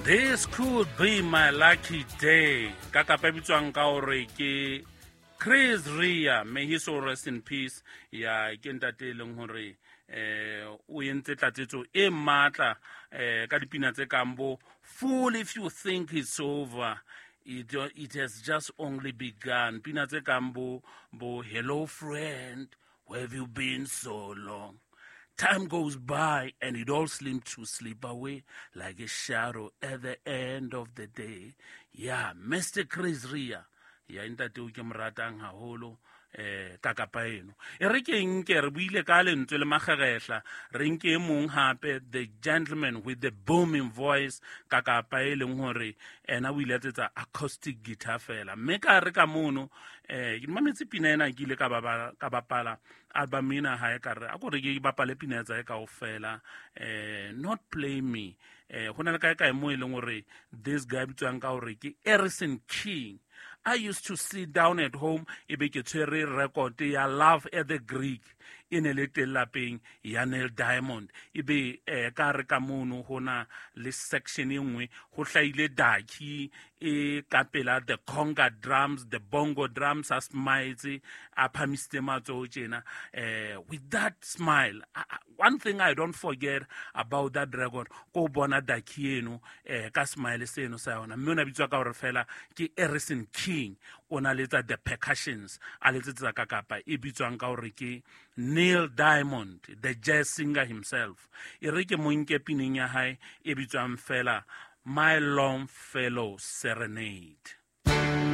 This could be my lucky day. Ka kapa e bitswang ka hore ke Chris Rea, may he so rest in peace. Ya ke ntate e leng hore o entse tlatsetso e matla ka dipina tse kang bo Fool If You Think It's Over, it has just only begun. Pina tse kang bo Hello Friend, where have you been so long? Time goes by and it all seems to slip away like a shadow at the end of the day. Yeah, Mr. Chris Rea. Ya ntate o ke mo ratang haholo ka kapa eno. E re ke nke re buile ka lentswe le magerehla, re nke e mong hape, the gentleman with the booming voice, ka kapa e leng hore ena o ile a tsetsa acoustic guitar fela. Mme ka re ka mono, ke mametse pina ena, ke ile ka bapala album ena hae, ka re a ko re ke bapale pina tsa hae kaofela, Not Play Me. Ho na le kae kae mo e leng hore this guy bitswang ka hore ke Erison King. I used to sit down at home e be ke tshwere record ya Love at the Greek e ne le teng lapeng ya Neil Diamond, e be ka re ka mono ho na le section e nngwe ho hlahile daki e ka pela the conga drums, the bongo drums, a smile, a phamisitse matsoho tjena, with that smile. One thing I don't forget about that record, ko bona daki eno ka smile seno sa yona, mme o na bitswa ka hore fela ke Erison King. O na letsa the percussions, a letsetsa ka kapa e bitswang ka hore ke Neil Diamond, the jazz singer himself. E re ke mo nke pineng ya hae e bitswang fela My Long Fellow Serenade.